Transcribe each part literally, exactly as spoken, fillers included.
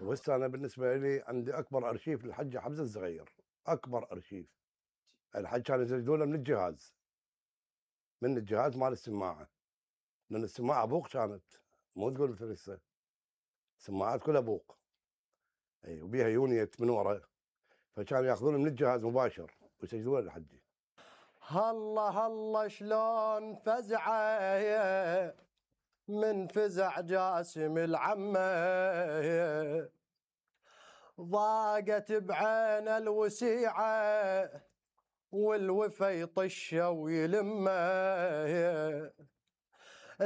وهسه انا بالنسبه لي عندي اكبر ارشيف للحجه حمزه الصغير، اكبر ارشيف. الحج كانوا يسجلونه من الجهاز، من الجهاز مال السماعه، لان السماعه بوق كانت، مو تقول فريسه، السماعات كلها بوق، اي وبيها يونيت من ورا، فكانوا ياخذونه من الجهاز مباشر ويسجلونه للحجه. هلا هلا شلون فزعه من فزع جاسم العمه، ضاقت بعين الوسيعه والوفا يطشه ويلمه،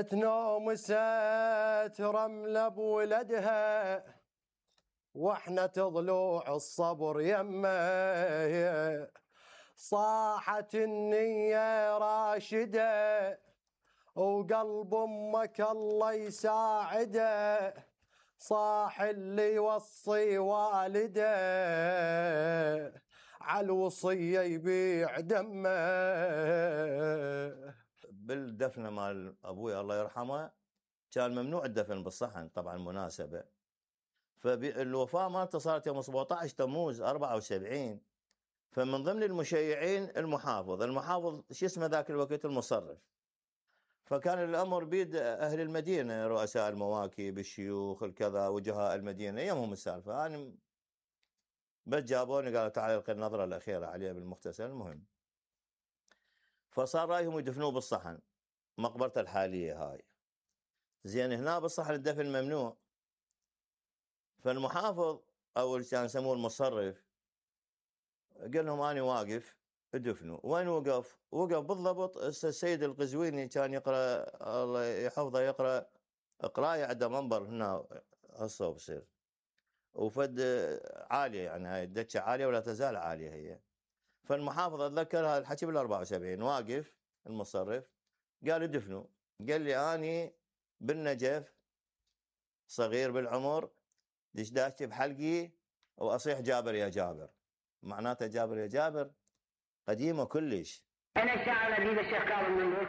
تنوم ست رمله بولدها واحنا تضلوع الصبر يمه، صاحت النية راشدة وقلب امك الله يساعده، صاح اللي يوصي والده عالوصية يبيع دمه. بالدفنة مال ابوي الله يرحمه كان ممنوع الدفن بالصحن طبعا مناسبة، فالوفاة مالته صارت يوم سبعطعش تموز أربعة وسبعين، فمن ضمن المشيعين المحافظ، المحافظ شو اسمه ذاك الوقت المصرف، فكان الامر بيد اهل المدينه، رؤساء المواكب، الشيوخ، الكذا، وجهاء المدينه، يمهم السالفه. انا بس جابوني قالوا تعال القي النظره الاخيره عليه بالمغتسل. المهم فصار رايهم يدفنوه بالصحن، مقبرته الحاليه هاي. زين هنا بالصحن الدفن ممنوع، فالمحافظ او اللي كان يسموه المصرف قال لهم انا واقف ادفنوا. وين وقف؟ وقف بالضبط السيد القزويني كان يقرا الله يحفظه، يقرا قرايه عنده منبر هنا هسه بصير وفد عاليه، يعني هاي الدكه عاليه ولا تزال عاليه هي. فالمحافظ اتذكر هذا الحكي بال أربعة وسبعين، واقف المصرف قال ادفنوا. قال لي اني بالنجف صغير بالعمر دشداشتي بحلقي واصيح جابر يا جابر، معناته جابر يا جابر قديمه كلش. انا الشاعر الاديب الشيخ كاظم النمرود